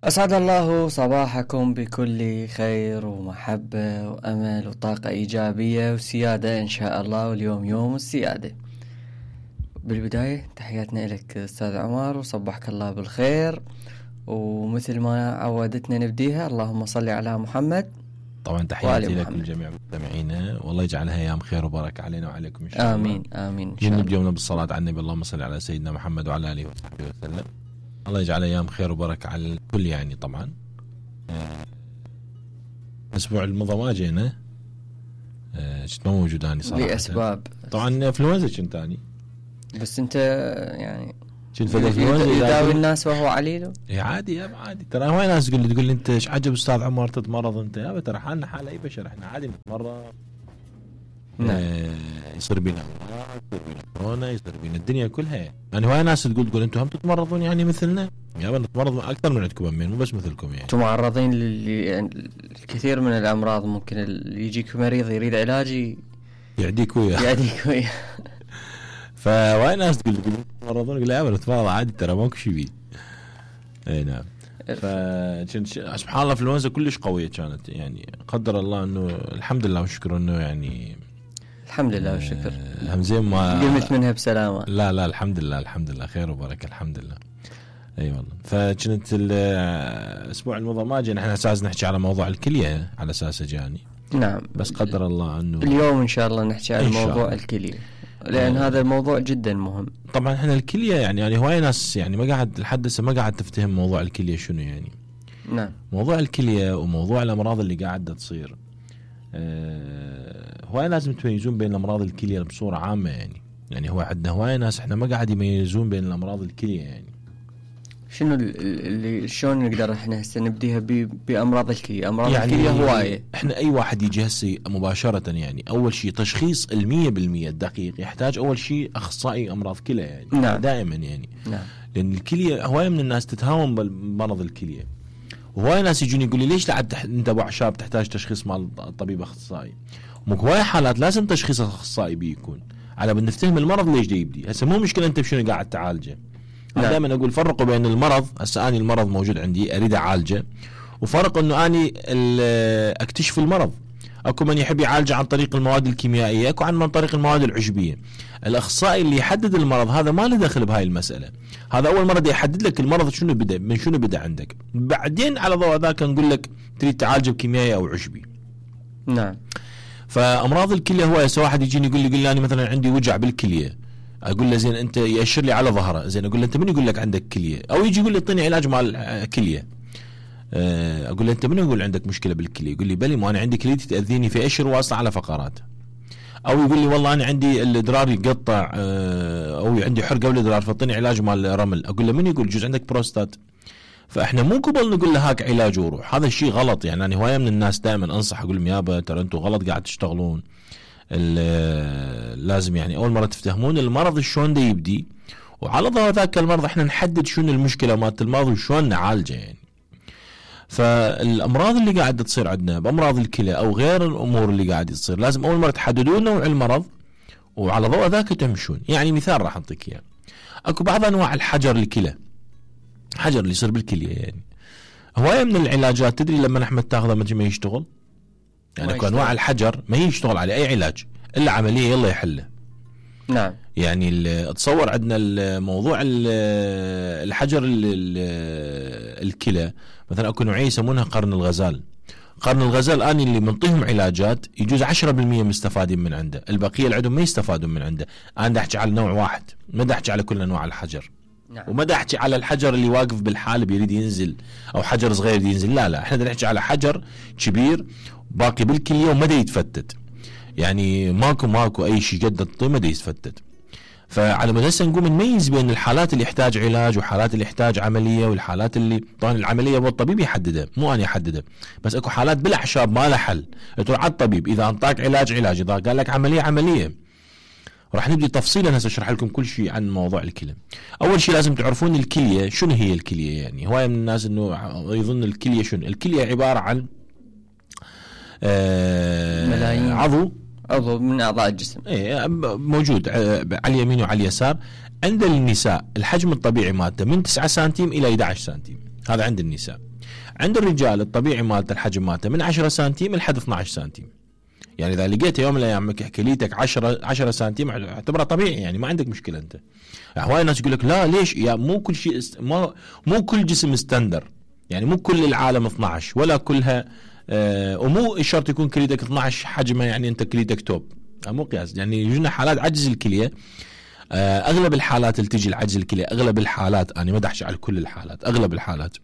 أسعد الله صباحكم بكل خير ومحبة وأمل وطاقة إيجابية وسيادة إن شاء الله، واليوم يوم السيادة. بالبداية تحياتنا لك أستاذ عمر، وصبحك الله بالخير، ومثل ما عودتنا نبديها اللهم صل على محمد. طبعا تحياتي لكم جميع مستمعينا، والله يجعلها أيام خير وبركة علينا وعليكم إن شاء الله. آمين آمين إن شاء الله. نبدأ يومنا بالصلاة على النبي، اللهم صل على سيدنا محمد وعلى آله وصحبه وسلم. الله يجعل أيام خير وبركة على الكل. يعني طبعا الأسبوع الماضي ما جينا، كنت ما موجود أنا صراحة لأسباب. طبعا إنفلونزا كنت أني، بس أنت يعني كنت إنفلونزا يداوي الناس وهو عليله. إيه عادي يا عادي، ترى هواي ناس تقول لي أنت إيش عجب أستاذ عمر تتمرض أنت؟ يا ترى حالنا حال أي بشر، إحنا عادي نتمرض. يصير بينا كورونا، يصير بينا الدنيا كلها. يعني هواي ناس تقول أنتم هم تتمرضون يعني مثلنا؟ يا نتمرض أكثر من عندكم أمين، مو بس مثلكم يعني. أنتم معرضين للكثير من الأمراض، ممكن يجيك مريض يريد علاجي يعديك وياه. فهواي ناس تقول تتمرضون، يقول لا نتمرض عادي ترى ماكو شيء بيه. اي نعم. سبحان الله الانفلونزا كلش قوية كانت، يعني قدر الله انه الحمد لله والشكر انه يعني الحمد لله والشكر همزين ما قمت منها بسلامة. لا الحمد لله خير وبركة الحمد لله. اي والله. فكنت الاسبوع الماضي ما جينا، احنا اساس نحكي على موضوع الكلية على اساس جاني. نعم. بس قدر الله انه اليوم ان شاء الله نحكي على موضوع الكلية، لأن هذا الموضوع جدا مهم. طبعا احنا الكلية يعني هواي ناس يعني ما قاعد لحد هسه ما قاعد تفتهم موضوع الكلية شنو يعني. نعم. موضوع الكلية وموضوع الأمراض اللي قاعدة تصير، هواي لازم تميزون بين الأمراض الكلية بصورة عامة يعني هو عندنا هواي ناس احنا ما قاعد يميزون بين الأمراض الكلية. يعني شنو اللي شلون نقدر احنا هسه نبديها بأمراض الكلية؟ أمراض يعني الكلية هواية. احنا أي واحد يجي هسه مباشرة يعني أول شيء تشخيص 100% الدقيق يحتاج أول شيء أخصائي أمراض كلى يعني. نعم. دائما يعني. نعم. لأن الكلية هواي من الناس تتهاون بمرض الكلية، وهواي ناس يجون يقول لي ليش انت ابو عشاب تحتاج تشخيص مع الطبيب اخصائي؟ مو هواي حالات لازم تشخيص اخصائي بيكون على بد نفتهم المرض ليش دا يبدي. هسه مو مشكله انت بشنو قاعد تعالجه. انا دائما اقول فرقوا بين المرض، هسه اني المرض موجود عندي اريد اعالجه، وفرق انه اني اكتشف المرض. اكو من يحب يعالجه عن طريق المواد الكيميائيه، اكو عن طريق المواد العشبيه. الاخصائي اللي يحدد المرض هذا ما له دخل بهاي المساله، هذا اول مره يحدد لك المرض شنو بدا من شنو بدا عندك، بعدين على ضوء ذاك نقول لك تريد تعالجه بكيميائي او عشبي. نعم. فامراض الكليه هو هسه واحد يجيني يقول لي انا مثلا عندي وجع بالكليه، اقول له زين انت ياشر لي على ظهره، زين اقول له انت من يقول لك عندك كليه؟ او يجي يقول لي اعطيني علاج مال كليه، اقول له انت من يقول عندك مشكله بالكليه؟ يقول لي بلي ما انا عندي كليتي تاذيني في اشر واصله على فقرات. او يقول لي والله انا عندي الادرار يقطع، او عندي حرقه بالادرار فاعطيني علاج مال رمل. اقول له من يقول جوز عندك بروستات؟ فاحنا مو قبل نقول له هاك علاج وروح، هذا الشيء غلط. يعني انا هوايه من الناس دائما انصح اقول لهم يابا ترى انتم غلط قاعد تشتغلون. لازم يعني اول مره تفتهمون المرض شلون دا يبدي، وعلى ضوء ذاك المرض احنا نحدد شنو المشكله مالت المرض وشلون نعالجه يعني. فالامراض اللي قاعده تصير عندنا بامراض الكلى او غير الامور اللي قاعده تصير لازم اول مره تحددون نوع المرض وعلى ضوء ذاك تمشون. يعني مثال راح اعطيك اياه، اكو بعض انواع الحجر الكلى، حجر اللي يصير بالكليه يعني هوايه من العلاجات تدري لما احمد تاخذه ما يشتغل. يعني اكو انواع الحجر ما يشتغل عليه اي علاج الا عمليه يلا يحله. نعم. يعني تصور عندنا الموضوع الحجر الكلى مثلا اكو نوعيه يسمونها قرن الغزال. قرن الغزال اني اللي منطيهم علاجات يجوز 10% مستفادين من عنده، البقيه اللي عندهم ما يستفادون من عنده. انا دا احكي على نوع واحد، ما دا احكي على كل انواع الحجر. نعم. وما دا احكي على الحجر اللي واقف بالحالب يريد ينزل او حجر صغير ينزل، لا احنا دا نحكي على حجر كبير باقي بالكليه وما دا يتفتت. يعني ماكو اي شيء قد الطين ما دا يتفتت. فعلى ما هسه نقوم نميز بين الحالات اللي يحتاج علاج وحالات اللي يحتاج عمليه، والحالات اللي طبعا العمليه هو الطبيب يحددها مو انا احددها، بس اكو حالات بالاعشاب ما لها حل، تروح على الطبيب اذا انطاك علاج، اذا قال لك عمليه. راح نبدي تفصيلا هسه اشرح لكم كل شيء عن موضوع الكلى. اول شيء لازم تعرفون الكليه شنو هي الكليه. يعني هوايه من الناس انه يظن الكليه شنو. الكليه عباره عن ملايين عضو من أعضاء الجسم موجود على اليمين وعلى اليسار. عند النساء الحجم الطبيعي مالته من 9 سنتيم إلى 11 سنتيم، هذا عند النساء. عند الرجال الطبيعي مالته الحجم مالته من 10 سنتيم لحد 12 سنتيم. يعني اذا لقيت يوم من الايام كليتك 10 سنتيم اعتبره طبيعي، يعني ما عندك مشكله انت. هواي ناس يقول لك لا ليش يا مو كل شيء مو كل جسم ستاندر، يعني مو كل العالم 12 ولا كلها ومو شرط يكون كليتك 12 حجمه يعني انت كليتك توب، مو قياس. يعني يجونا حالات عجز الكليه، اغلب الحالات اللي تجي العجز الكليه، اغلب الحالات انا ما احكي على كل الحالات، اغلب الحالات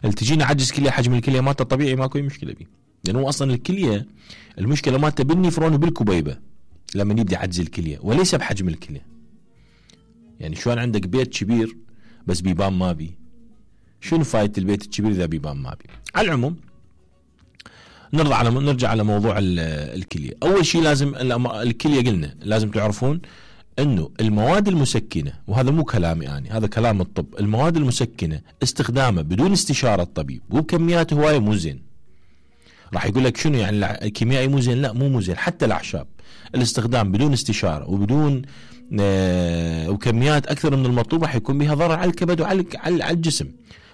اللي تجينا عجز كليه حجم الكليه مالته طبيعي ماكو اي مشكله بيه، لانه اصلا الكليه المشكله مالته بالنفرون وبالكبيبه لما يبدي عجز الكليه وليس بحجم الكليه. يعني شلون عندك بيت كبير بس بيبان ما بي، شنو فايده البيت الكبير اذا بيبان ما بي؟ على العموم نرجع على موضوع الكليه. اول شيء لازم الكليه قلنا لازم تعرفون انه المواد المسكنه، وهذا مو كلامي يعني هذا كلام الطب، المواد المسكنه استخدامه بدون استشاره الطبيب وبكميات هوايه مو زين. راح يقول لك شنو يعني الكيميائي مو زين؟ لا مو زين، حتى الاعشاب الاستخدام بدون استشاره وبدون وكميات اكثر من المطلوب راح يكون بها ضرر على الكبد وعلى الجسم.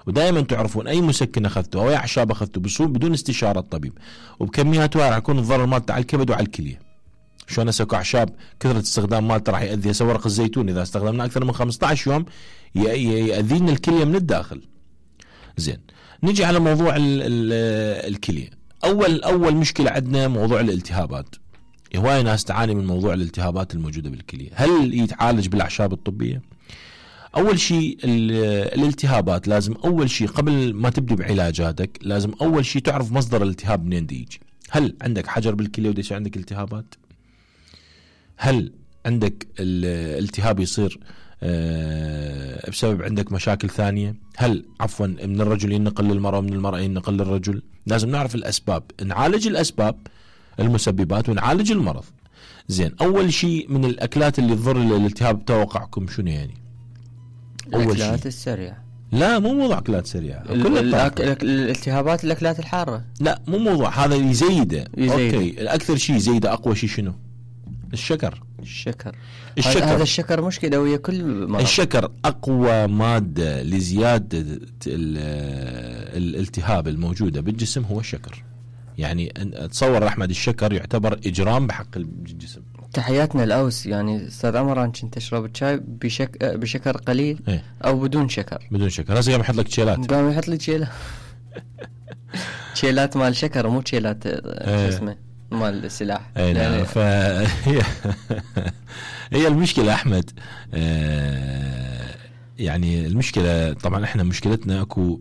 ودائما تعرفون اي مسكن اخذته او اي اعشاب اخذته بدون استشاره الطبيب وبكميات راح يكون الضرر مالته على الكبد وعلى الكليه. شلون اسكو اعشاب كثره استخدام مالته راح يؤذي. هسه ورق الزيتون اذا استخدمناه اكثر من 15 يوم يؤذينا الكليه من الداخل. زين، نجي على موضوع الكليه. اول مشكله عندنا موضوع الالتهابات. هواي ناس تعاني من موضوع الالتهابات الموجوده بالكليه. هل يتعالج بالاعشاب الطبيه؟ اول شيء الالتهابات لازم اول شيء قبل ما تبدي بعلاجاتك لازم اول شيء تعرف مصدر الالتهاب منين يجي. هل عندك حجر بالكليه وديش عندك التهابات؟ هل عندك الالتهاب يصير بسبب عندك مشاكل ثانية؟ هل عفوا من الرجل ينقل للمرأة ومن المرأة ينقل للرجل؟ لازم نعرف الأسباب، نعالج الأسباب المسببات ونعالج المرض. زين، أول شيء من الأكلات اللي تضر الالتهاب توقعكم شنو يعني؟ الأكلات السريعة. لا مو موضوع أكلات سريعة، الالتهابات الأكلات الحارة. لا مو موضوع هذا يزيده. أوكي، الأكثر شيء يزيده أقوى شيء شنو؟ الشكر. هذا الشكر مشكلة ويا كل مرض. الشكر أقوى مادة لزيادة الالتهاب الموجودة بالجسم هو الشكر. يعني تصور أحمد الشكر يعتبر إجرام بحق الجسم. تحياتنا الأوس. يعني أستاذ عمران كنت تشرب الشاي بشكر قليل ايه؟ أو بدون شكر. بدون شكر. هسه قام يحط لك تشيلات. قام يحط لي تشيلات. تشيلات مال شكر مو تشيلات شو اسمه مال السلاح. يعني هي المشكلة أحمد. يعني المشكلة طبعا احنا مشكلتنا اكو